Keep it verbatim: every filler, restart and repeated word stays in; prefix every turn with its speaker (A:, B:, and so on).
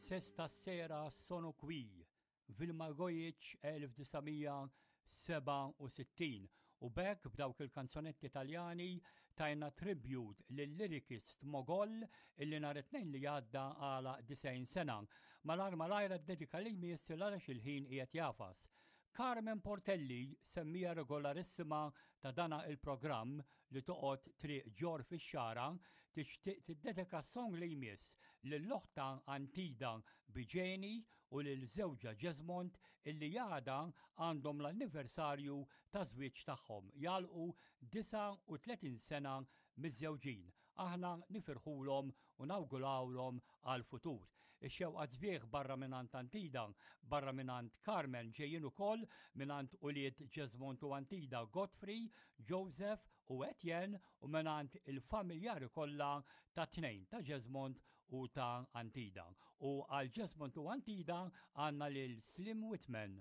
A: Se stasera sono qui, Vilma Gojic elf disa' mija sebgħa u sittin. U b'hekk, b'dawk il-kanzonetti Italjani, tajna tribute lill-lyricist Mogol illi nhar it-Tnejn li għadda għalaq disgħin sena. Malajr malajr id-dedika li jmiss, għaliex il-ħin qiegħed jagħfas. Carmen Portelli, semmiegħa regolarissima ta' dana il-programm li toqgħod Triq Ġor fix-Xagħra, tixtieq tiddedika song li jmiss lil oħtha Antida Biġeni u lil żewġha Jesmond illi għada għandhom l-anniversarju ta' żwieġ tagħhom, jagħlqu disgħa u tletin sena miżżewġin. Aħna nifirħulhom u nawgurawlhom għal-futur. Ix-xewqat sbieħ barra mingħand Antida, barra mingħand Carmen, ġejjin ukoll mingħand ulied Jesmond u Antida, Godfrey, Joseph u Etienne, u mingħand il-familjari kollha ta' tnejn, ta' Jesmond u ta' Antida. U għal Jesmond u Antida għandna lil Slim Whitman.